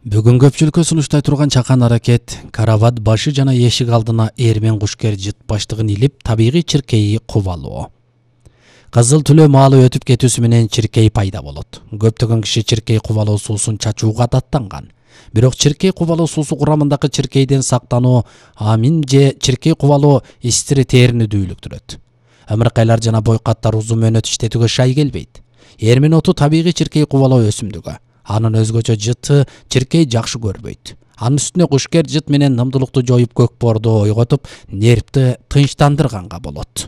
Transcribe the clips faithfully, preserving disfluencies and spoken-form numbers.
Бүгүн көпчүлүккө сунуштай турган чакан аракет карават башы жана эшик алдына эрмен кушкер жыт баштыгын илип табигый чиркейи кубалоо. Кызыл түлөө маалы өтүп кетүүсү менен чиркей пайда болот. Көптөгөн киши чиркей кубалоо суусун чачууга адаттанган. Бирок чиркей кубалоо суусу курамындагы чиркейден сактануу амин же чиркей кубалоо истири терини дүүлүктүрөт. Амыркайлар жана бойкаттар узун мөөнөт иштетүүгө шай келбейт. Эрмен оту табигый чиркей кубалоо өсүмдүгү. Анын өзгөчө жыты чиркей жакшы көрбөйт. Анын үстүнө кушкер жыт менен нымдуулукту жоюп көк боорду ойготуп, нервти тынчтандырганга болот.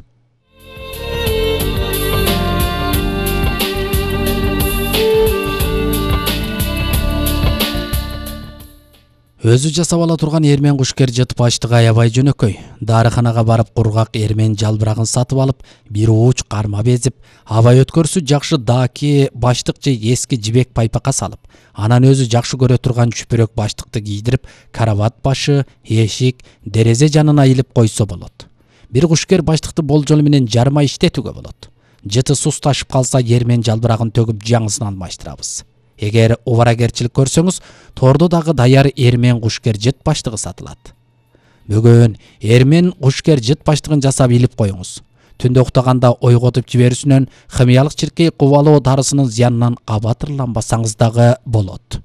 Өзү жасап ала турган эрмен кушкер жыт баштыгы аябай жөнөкөй. Дарыканага барып кургак эрмен жалбырагын сатып алып, бир ууч карма безип, аба өткөрсү жакшы даки баштык же эски жибек пайпакка салып, анан өзү жакшы көрө турган чүпүрөк баштыкты кийдирип, карават башы, эшик, дерезе жанына илип койсо болот. Бир кушкер баштыкты болжол менен жарма иштетүүгө болот. Жыты сусташып калса эрмен жалбырагын төгүп жаңысын алмаштырабыз. Эгер убаракерчилик көрсөңүз, тордо дагы даяр эрмен кушкер жыт баштыгы сатылат. Бүгүн эрмен кушкер жыт баштыгын жасап илип коюңуз. Түндө уктаганда ойготуп жиберүүсүнөн химиялык чиркей кубалоо дарысынын зыянынан абатырланбасаңыз дагы болот.